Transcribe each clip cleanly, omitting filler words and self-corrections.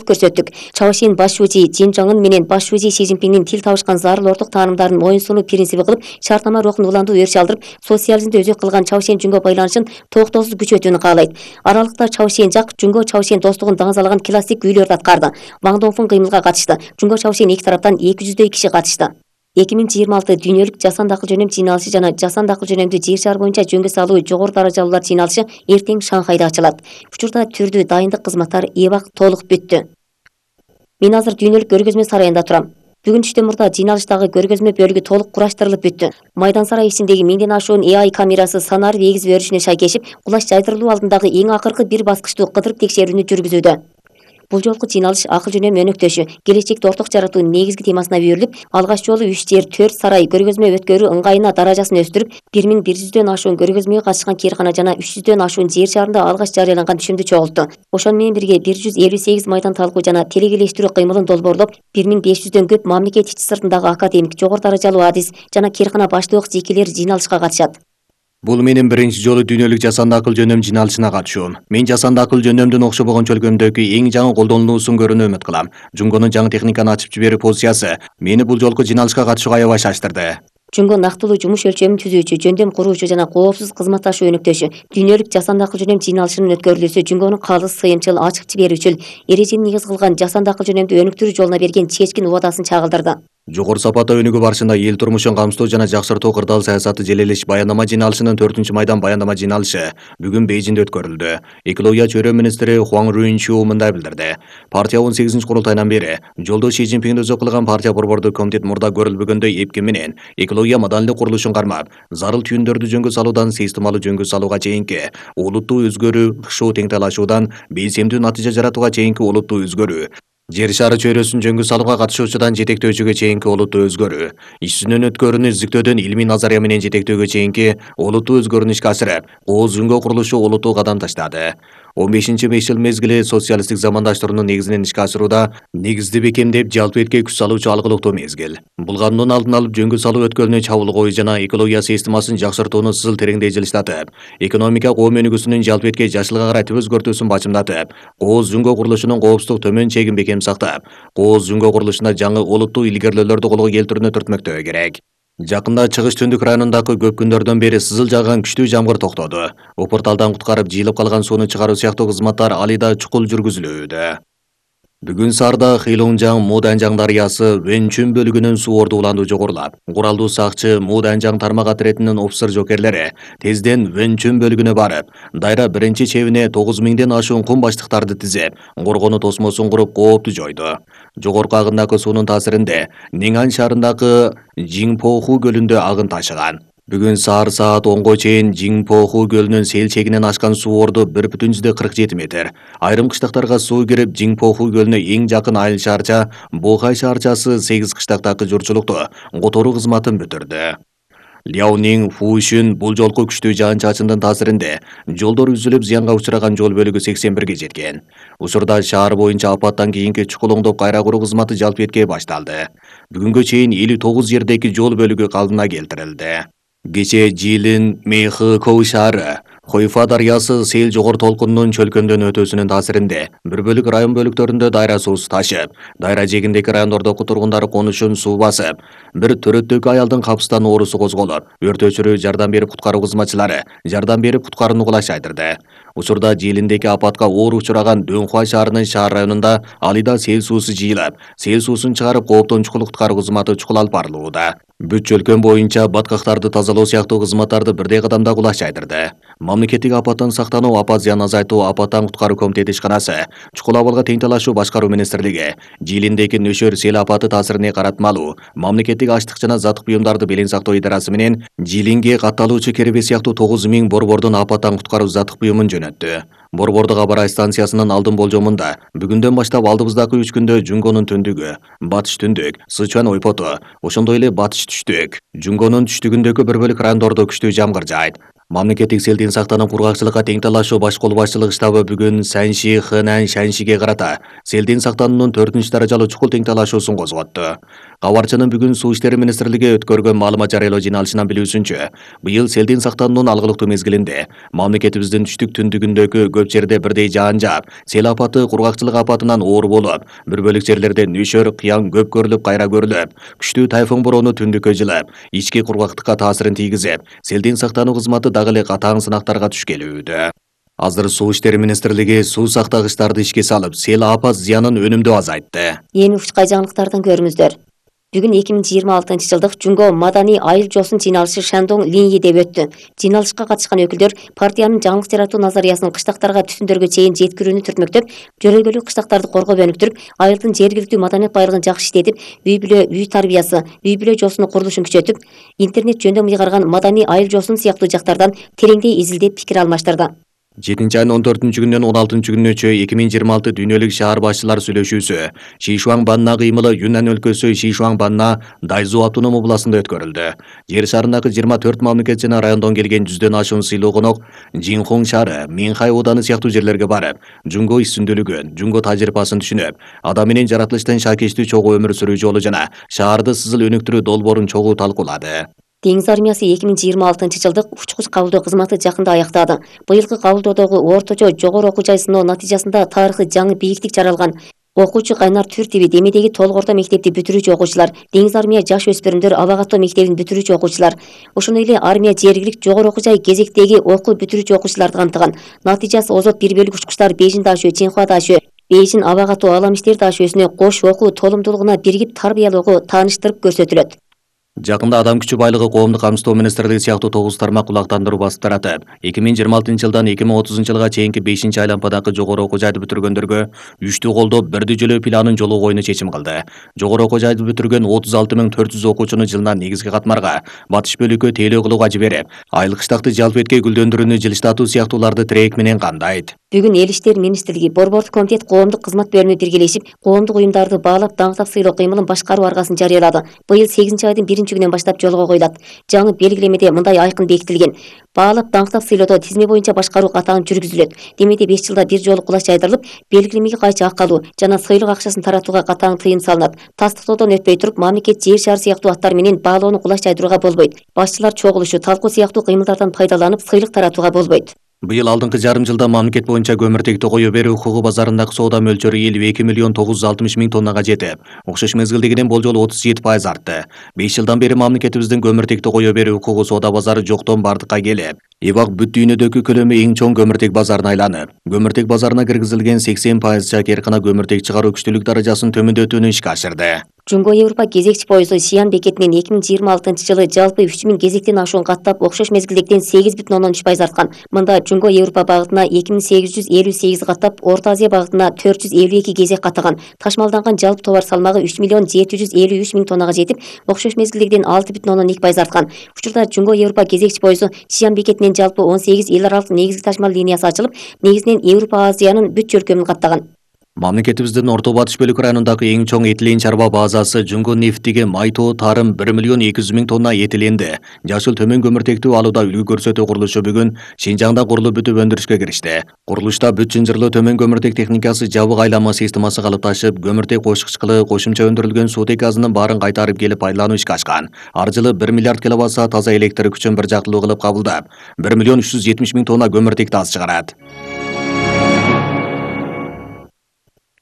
көрсөттүк. Чавашин баш шүүжи Жин Жоңун менен баш шүүжи Си Цзиньпиндин тил табышкан зарыл орток таанымдарын моюн сунуу принциби кылып, шартнама рухун улантуу өрүш алдырып, социализмди өзөк кылган Чавашин Жунго байланышын токтоосуз күчөтүүнү каалайт. Аралыкта Чавашин жак Жунго Чавашин достугун даңазалаган классик үйлөрдү аткарды. Ваң Донфун кыймылга катышты. Жунго Чавашин эки тараптан 200дөй киши катышты. 2026 дүйнөлүк жасанды акыл жөнөм жыйналышы жана жасанды акыл жөнөмдү жер шары боюнча жөнгө салуу жогору даражалуулар жыйналышы эртең Шанхайда ачылат. Учурда түрдүү дайындык кызматтары эбак толук бүттү. Мен азыр дүйнөлүк көргөзмө сарайында турам. Бүгүн түштөн мурда жыйналыштагы көргөзмө бөлүгү толук кураштырылып бүттү. Майдан сарай ичиндеги 1000ден ашуун AI камерасы санарип эгизип өрүшүнө шайкешип, кулаш жайдырылуу алдындагы эң акыркы бир баскычтуу кыдырып текшерүүнү жүргүзүүдө. Бул жолку жыйналыш акыл жөнөм өнөктөшү, келечекти орток жаратуу негизги темасына үйрүлүп, алгач жолу 3 жер 4 сарай көргөзмө өткөрүү ыңгайына даражасын өстүрүп, 1100дөн ашуун көргөзмөгө катышкан кээркана жана 300дөн ашуун жер шарында алгач жарыяланган түшүмдү чогултту. Ошону менен бирге 158 майдан талкуу жана телегелештирүү кыймылын долбоорлоп, 1500дөн көп мамлекет ичи сыртындагы академик, жогору даражалуу адис жана кээркана баштоок жекелер жыйналышка катышат. Бул менин биринчи жолу дүйнөлүк жасанды акыл жөнөм жыйналышына катышуум. Мен жасанды акыл жөнөмдүн окшобогон чөлкөмдөгү эң жаңы колдонулуусун көрүүнү үмүт кылам. Жунгонун жаңы техниканы ачып жиберүү позициясы мени бул жолку жыйналышка катышууга аябай шаштырды. Жунго нактылуу жумуш өлчөмүн түзүүчү, жөндөм куруучу жана коопсуз кызматташуу өнөктөшү. Дүйнөлүк жасанды акыл жөнөм жыйналышынын өткөрүлүүсү Жунгонун калыс, сыйымчыл, ачык жиберүүчүл, эрежени негиз кылган жасанды акыл жөнөмдү өнүктүрүү жолуна берген чечкин убадасын чагылдырды. Жогору сапатта өнүгүү барышында эл турмушун камсыздоо жана жакшыртуу кырдаал саясаты желелеш баяндама жыйналышынын 4-майдан баяндама жыйналышы бүгүн Бейжиңде өткөрүлдү. Экология чөйрө министри Хуаң Руинчу мындай билдирди. Партия 18-курултайынан бери жолдо Си Цзиньпинди өзөк кылган партия борбордук комитет мурда көрүлбөгөндөй эпки менен экология маданийлик курулушун кармап, зарыл түйүндөрдү жөнгө салуудан системалуу жөнгө салууга чейинки олуттуу өзгөрүү, ыкшоо теңтайлашуудан белсемдүү натыйжа жаратууга чейинки олуттуу өзгөрүү, жер шары чөйрөсүн жөнгө салууга катышуучудан жетектөөчүгө чейинки олуттуу өзгөрүү, иш жүзүнөн өткөрүүнү изилдөөдөн илмий назария менен жетектөөгө чейинки олуттуу өзгөрүүнү ишке ашырып, кооз жөнгө курулушу олуттуу кадам таштады. 15-5 жыл мезгили социалисттик замандаштыруунун негизинен ишке ашырууда негизди бекемдеп, жалпы этке күч салуучу алгылыктуу мезгил. Булгануунун алдын алып, жөнгө салуу өткөлүнө чабуулгоо жана экология системасын жакшыртууну сызыл тереңдей жылыштатып, экономика коом өнүгүүсүнүн жалпы этке жашылга карай түп өзгөртүүсүн бачымдатып, кооз жөнгө курулушунун коопсуздук төмөн чегин бекем сактап, кооз жөнгө курулушуна жаңы олуттуу илгерүүлөрдү колго келтирүүнү түртмөктөө керек. Жакында Чыгыш Түндүк районундагы көп күндөрдөн бери сызыл жааган күчтүү жамгыр токтоду. Упурталдан куткарып жыйылып калган сууну чыгаруу сыяктуу кызматтар али да чукул жүргүзүлүүдө. Бүгүн Сарда Хилунжаң Муданжаң дарыясы Вэнчүн бөлүгүнүн суу ордулануу жогорулап, куралдуу сакчы Муданжаң тармак отрядынын офицер жокерлери тезден Вэнчүн бөлүгүнө барып, дайра биринчи чебине 9000ден ашуун кум баштыктарды тизип, коргонуу тосмосун куруп коопту жойду. Жогорку агындагы суунун таасиринде Нingан шаарындагы Жиңпоху көлүндө агын ташыган. Бүгүн саат 10го чейин Жиңпоху көлүнүн сел чегинен ашкан суу орду 1,47 метр. Айрым кыштактарга суу кирип, Жиңпоху көлүнө эң жакын айыл шаарча Бохай шаарчасы 8 кыштактагы журчулукту которуу кызматын бүтүрдү. Ляонинг Фушүн бул жолку күчтүү жаан-чачындын таасиринде жолдор үзүлүп, зыянга учураган жол бөлүгү 81ге жеткен. Учурда шаар боюнча апаттан кийинки чукул оңдоп кайра куруу кызматы жалпы этке башталды. Бүгүнгө чейин 59 жердеги жол бөлүгү калдына келтирилди. Кечээ Жилин Мэйхы шаары Хойфа дарыясы сел жогору толкунунун чөлкөмдөн өтүүсүнүн таасиринде бир бөлүк район бөлүктөрүндө дайра суусу ташып, дайра жээгиндеги райондордогу тургундары конушун суу басып, бир төрөттөгү аялдын капыстан оорусу козголуп, өрт өчүрүү жардам берип куткаруу кызматчылары жардам берип куткарууну кулаш айдырды. Учурда Жилиндеги апатка оор учураган Дөнхуа шаарынын шаар районунда алыда сел суусу жыйылып, сел суусун чыгарып кооптон чукул куткаруу кызматы чукул алып барылууда. Бүт чөлкөм боюнча баткактарды тазалоо сыяктуу кызматтарды бирдей кадамда кулаш айдырды. Мамлекеттик апаттан сактануу, апат зыян азайтуу, апаттан куткаруу комитети ишканасы, чукул абалга теңтайлашуу башкаруу министрлиги, Жилиндеги нөшөр сел апаты таасирине каратмалуу, мамлекеттик ачтык жана заттык буюмдарды белең сактоо идарасы менен Жилинге катталуучу керебе сыяктуу 9000 борбордун апаттан куткаруу заттык буюмун жөнөттү. Борбордук Абарай станциясынын алдын болжомунда бүгүндөн баштап алдыбыздагы 3 күндө Жунгонун түндүгү, батыш түндүк, Сычуан ойпоту, ошондой эле батыш түштүк, Жунгонун түштүгүндөгү бир бөлүк райондордо күчтүү жамгыр жаайт. Мамлекеттик селдин сактанып кургакчылыкка тең талашуу баш кол башчылык штабы бүгүн Санши, Хэнань, Шаншиге карата селдин сактануунун 4-даражалуу чукул тең талашуусун козготту. Кабарчынын бүгүн Суу иштери министрлиги өткөргөн маалымат жарыялоо жыйналышынан билүүсүнчө, быйыл селдин сактануунун алгылыктуу мезгилинде мамлекетибиздин түштүк-түндүгүндөгү көп жерде бирдей жаан жаап, сел апаты кургакчылык апатынан оор болуп, бир бөлүк жерлерде нөшөр, кыян көп көрүлүп, кайра көрүлүп, күчтүү тайфун бороону түндүккө жылып, ички кургактыкка таасирин тийгизип, селдин сактануу кызматы дагы эле катаң сынактарга туш келүүдө. Азыр Суу иштери министрлиги суу сактагычтарды ишке салып, сел апат зыянын өнүмдүү азайтты. Эми учкай жаңылыктардан көрүңүздөр. Бүгүн 2026-жылдык Жунго Маданий айыл жосун жыйналышы Шандong Линьиде өттү. Жыйналышка катышкан өкүлдөр партиянын жаңылык жаратуу назариясын кыштактарга түтүндөргө чейин жеткирүүнү түртмөктөп, жөрөлгөлүк кыштактарды коргоп өнүктүрүп, айылдын жергиликтүү маданият байлыгын жакшы иштетип, үй бүлө, үй тарбиясы, үй бүлө жосуну курулушун күчөтүп, интернет жөндөм ыйгарган Маданий айыл жосун сыяктуу жактардан тереңдей изилдеп пикир алмаштырды. 7-айнын 14-күнүнөн 16-күнүнө 2026 дүйнөлүк шаар башчылар сүйлөшүүсү Шишуаңбанна кыймылы Юннан өлкөсү Шишуаңбанна Дайзу автоном областында өткөрүлдү. Жер шарындагы 24 мамлекет жана райондон келген 100дөн ашуун сыйлуу конок Жинхон шаары, Минхай ооданы сыяктуу жерлерге барып, Жунго иш-сүндүүлүгүн, Жунго тажрыйбасын түшүнүп, адам менен жаратылыштан шакештүү чогуу өмүр сүрүү жолу жана шаарды сызыл өнүктүрүү долбоорун чогуу талкуулады. Деңиз армиясы 2026-жылдык учкуч кабылдоо кызматы жакында аяктады. Быйылкы кабылдоодогу орточо жогору окуу жай сыноо натыйжасында тарыхый жаңы бийиктик жаралган окуучу Кайнар Түртиби Демедеги толук орто мектепти бүтүрүүчү окуучулар, Деңиз армия жаш өспүрүмдөр абагаттоо мектебин бүтүрүүчү окуучулар, ошондой эле армия жергилик жогору окуу жай кезектеги окуу бүтүрүүчү окуучуларды камтыган. Натыйжасы озот бир бөлүк учкучтар Бейжин дашөө, Чинхуа дашөө, Бейжин абагаттоо алам иштер дашөөсүнө кош окуу толумдуулугуна биригип тарбиялоого тааныштырып көрсөтүлөт. Жакында адам күчү байлыгы коомдук камсыздоо министрлиги сыяктуу 9 тармак кулактандыруу басып таратып, 2026-жылдан 2030-жылга чейинки 5-айлампадагы жогору окуу жайды бүтүргөндөргө үчтүү колдоп бирди жөлөө планын жолу коюуну чечим кылды. Жогору окуу жайды бүтүргөн 36.400 окуучуну жылына негизги катмарга, батыш бөлүккө тейлөө кылууга жиберип, айлык штатты жалпы этке гүлдөндүрүүнү жылыштатуу сыяктууларды тирек менен камдайт. Бүгүн Эл иштер министрлиги, Борбордук комитет коомдук кызмат бөлүмү биргелешип, коомдук уюмдарды баалап даңктап сыйлоо кыймылын башкаруу аргасын жарыялады. Быйыл 8-айдын 1-күнүнөн баштап жолго коюлат. Жаңы белгилемеде мындай айкын бекитилген: баалап даңктап сыйлоодо тизме боюнча башкаруу катаң жүргүзүлөт. Демеде 5 жылда бир жолу кулач жайдырылып, белгилемеге кайчы ак алуу жана сыйлык акчасын таратууга катаң тыйым салынат. Тастыктоодон өтпөй туруп, мамлекет жер шары сыяктуу аттар менен баалоону кулач жайдырууга болбойт. Башчылар чогулушу, талкуу сыяктуу кыймылдардан пайдаланып, сыйлык таратууга болбойт. Быйыл алдыңкы жарым жылда мамлекет боюнча көмүртекти кое берүү укугу базарындагы соода мөлчөрү 52.960.000 тоннага жетип, окшош мезгилдегиден болжолу 37% артты. 5 жылдан бери мамлекетибиздин көмүртекти кое берүү укугу соода базары жоктон бардыкка келип, Ибак бүт дүйнөдөгү көлөмү эң чоң көмүртек базарына айланып, көмүртек базарына киргизилген 80% чакеркана көмүртек чыгаруу күчтүүлүк даражасын төмөндөтүүнү ишке ашырды. Жунго Европа кезекчи поезду Сиан бекетинен 2026-жылы жалпы 3000 кезектен ашуун каттап, окшош мезгилдегиден 8,3% арткан. Мында Жунго Европа багытына 2858 каттап, Орто Азия багытына 452 кезек каттаган. Ташмалданган жалпы товар салмагы 3.753.000 тоннага жетип, окшош мезгилдегиден 6,2% арткан. Учурда Жунго Европа кезекчи поезду Сиан бекетинен жалпы 18 эл аралык негизги ташмал линиясы ачылып, негизинен Европа Азиянын бүт чөлкөмүн каттаган. Мамлекетибиздин Орто Батыш бөлүк районундагы эң чоң этилен чарба базасы Жунго нефтиге майтоо тарым 1.200.000 тонна этиленди жашыл төмөн көмүртектүү алууда үлгү көрсөтүү курулушу бүгүн Шинжаңда курулуп бүтүп өндүрүшкө киришти. Курулушта бүт чынжырлуу төмөн көмүртек техникасы жабык айланма системасы калыпташып, көмүртек кошкучкылы кошумча өндүрүлгөн суутек газынын баарын кайтарып келип айлануу ишке ашкан. Ар жылы 1 миллиард киловатт-саат таза электр күчүн бир жактылуу кылып кабылдап, 1.370.000 тонна көмүртекти аз чыгарат.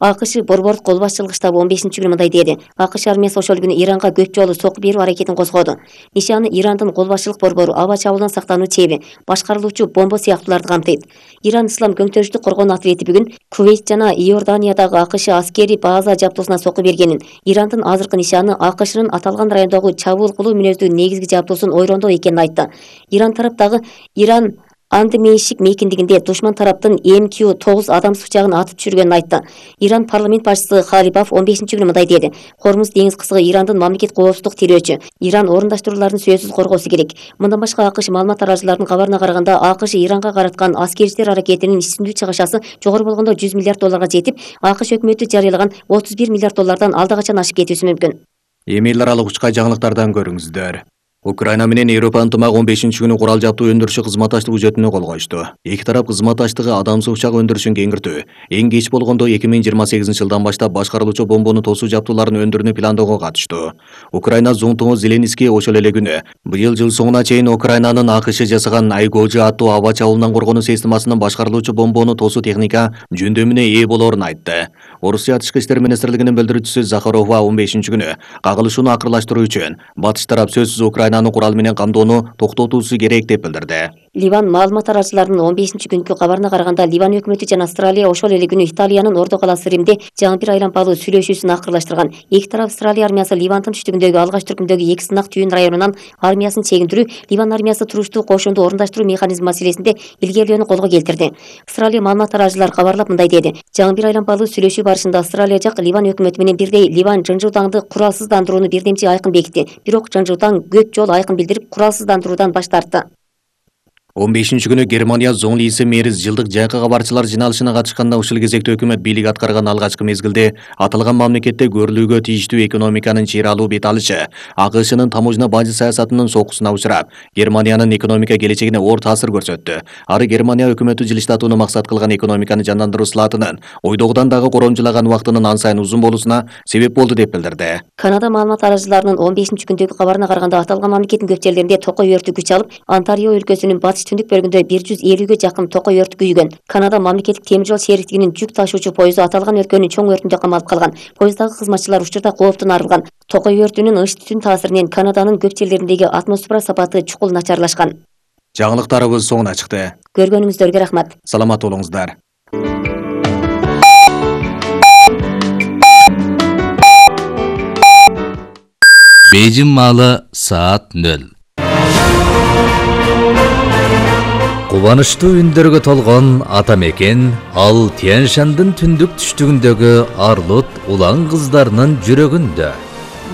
АКШ Борбордук кол башчылык штабы 15-күнү мындай деди: АКШ армиясы ошол күнү Иранга көп жолу сокку берүү аракетин козгоду. Нишаны Ирандын кол башчылык борбору аба чабуулдан сактануу чеби, башкарылуучу бомба сыяктууларды камтыйт. Иран ислам көңтөрүштү коргоонун ответи бүгүн Кувейт жана Иорданиядагы АКШ аскери база жабдуусуна сокку бергенин, Ирандын азыркы нишаны АКШнын аталган райондогу чабуул кылуу мүнөздүү негизги жабдуусун ойрондоо экенин айтты. Иран тараптагы Иран Андмейшик мейкиндигинде душман тараптын МК-9 адамсыз учагын атып түшүргөнүн айтты. Иран парламент башчысы Халибаф 15-күнү мындай деди: Хормуз деңиз кысыгы Ирандын мамлекет коопсуздук тирөөчү. Иран орундаштрууларын сөзсүз коргоосу керек. Мындан башка АКШ маалымат тараачыларынын кабарына караганда, АКШ Иранга караткан аскерчилер аракетинин иш-сүндүү чыгышасы жогору болгондо 100 миллиард долларга жетип, АКШ өкмөтү жарыялаган 31 миллиард доллардан алда качан ашып кетүүсү мүмкүн. Эми эл аралык учкай жаңылыктардан көрүңүздөр. Украина менен Европа ынтымак 15-күнү курал жабдуу өндүрүшү кызматташтык үзөтүнө кол коюшту. Эки тарап кызматташтыгы адамсыз учак өндүрүшүн кеңиртүү, эң кеч болгондо 2028-жылдан баштап башкарылуучу бомбону тосуу жабдууларын өндүрүүнү пландоого катышту. Украина зуңтуңу Зеленский ошол эле күнү быйыл жыл соңуна чейин Украинанын АКШ жасаган Айгожи аттуу аба чабуулунан коргонуу системасынын башкарылуучу бомбону тосуу техника жөндөмүнө ээ болоорун айтты. Орусия Тышкы иштер министрлигинин билдирүүчүсү Захарова 15-күнү кагылышууну акырлаштыруу үчүн батыш тарап сөзсүз Украинаны курал менен камдоону токтотуусу керек деп билдирди. Ливан маалымат таратчыларынын 15-күнкү кабарына караганда Ливан өкмөтү жана Австралия ошол эле күнү Италиянын Ордо калаасы Римде жаңы бир айлампалуу сүйлөшүүсүн акырлаштырган. Эки тарап Австралия армиясы Ливандын түштүгүндөгү алгач түркүмдөгү эки сынак түйүн районунан армиясын чегиндирүү, Ливан армиясы туруштуу кошунду орундаштыруу механизми маселесинде илгерилөөнү колго келтирди. Австралия маалымат таратчылары кабарлап мындай деди: жаңы бир айлампалуу сүйлөшүү барышында Австралия жак Ливан өкмөтү менен бирдей Ливан жынжыутаңды куралсыздандырууну бирдемчи айкын бекитти. Бирок жынжыутаң көп жолу айкын билдирип куралсыздандыруудан баш тартты. 15-күнү Германия Зоңлиси мэрис жылдык жайкы кабарчылар жиналышына катышканда ушул кезекте өкмөт бийлик аткарган алгачкы мезгилде аталган мамлекетте көрүлүүгө тийиштүү экономиканын чыйралуу бет алышы АКШнын таможня бажы саясатынын сокусуна учурап, Германиянын экономика келечегине оор таасир көрсөттү. Ары Германия өкмөтү жылыштатууну максат кылган экономиканы жандандыруу слаатынын ойдогудан дагы коромжулаган убактынын ан сайын узун болуусуна себеп болду деп билдирди. Канада маалымат таратчыларынын 15-күндөгү кабарына караганда аталган мамлекеттин көп жерлеринде токой өртү күч алып, Онтарио өлкөсүнүн батыш түндүк бөлүгүндө 150ге жакын токой өрт күйгөн. Канада мамлекеттик темир жол шериктигинин жүк ташуучу поезду аталган өлкөнүн чоң өртүндө камалып калган. Поездагы кызматчылар учурда кооптон арылган. Токой өртүнүн ыш түтүн таасиринен Канаданын көп жерлериндеги атмосфера сапаты чукул начарлашкан. Жаңылыктарыбыз соңуна чыкты. Көргөнүңүздөргө рахмат. Саламат болуңуздар. Бейжин маалы саат 0. Кубанычтуу үндөргө толгон ата мекен ал Тянь-Шандын түндүк түштүгүндөгү арлут улан кыздарынын жүрөгүндө.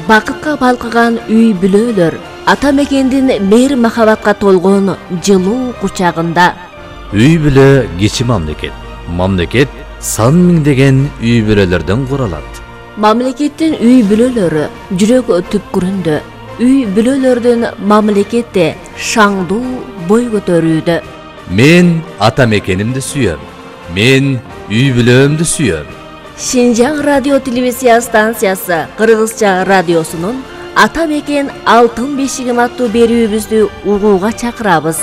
Бакытка балкыган үй бүлөлөр ата мекендин мейир махабатка толгон жылуу кучагында. Үй бүлө кичи мамлекет. Мамлекет сан миңдеген үй бүлөлөрдөн куралат. Мамлекеттин үй бүлөлөрү жүрөк түпкүрүндө. Үй бүлөлөрдүн мамлекетте шаңдуу бой көтөрүүдө. Мен ата мекенимди сүйөм. Мен үй бүлөмдү сүйөм. Шинжаң радио телевизия станциясы Кыргызча радиосунун Ата мекен алтын бешигим аттуу берүүбүздү угууга чакырабыз.